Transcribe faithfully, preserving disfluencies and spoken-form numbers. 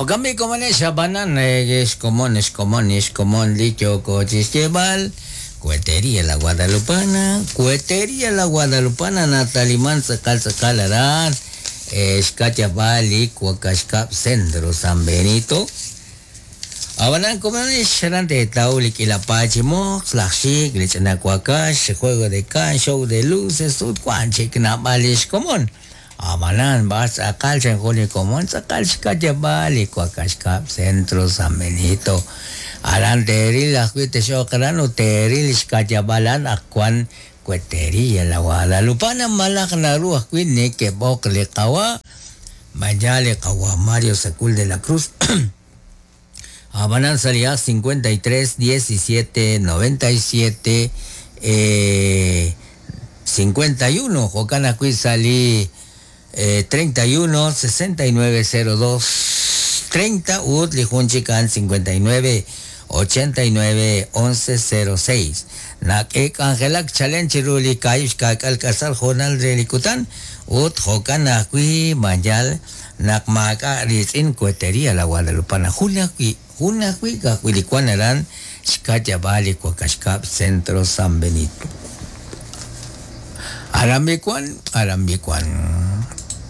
Okambi komones abanan xkomon xkomon xkomon li yooko chi xyeeb'al Cuetería La Guadalupana, Cuetería La Guadalupana nataliman tz'aqal tz'aqal aran xkayab'al li Wakaxkab Centro San Benito. Abanan komones xaran teetaw li k'ila paay chi moq, laj xik, li ch'ina wakax, juego de can, show de luces, ut wan chik naab'al li xkomon. Abanan b'ar tz'aqal chan jun li komon tz'aqal xkayab'al li Wakaxkab Centro San Benito. Aran teeril ajwi' texoq aran ut teeril xkayab'al an aq wan Cuetería La Guadalupana malaj naru ajwi' nekeb'oq li qawa mañana li qawa Mario Sacul de la Cruz. Abanan salía cincuenta y tres, diecisiete, noventa y siete, eh, cincuenta y uno, jo'kan ajwi' salí, eh, treinta y uno, sesenta y nueve, cero dos, treinta, ut li jun chik a'an cincuenta y nueve, ochenta y nueve, once, cero seis. Nak'e k'anjelak chalen chiru li kaahib' xka'k'al k'asal jo'nal re li kutan, ut jo'kan ajwi' mayal naq maak'a' riitz'in Cuetería La Guadalupana. Jun ajwi', jun ajwi' ka'ajwi' li wan aran xkayab'al li Wakaxkab Centro San Benito. Aran mi wan, aran mi wan.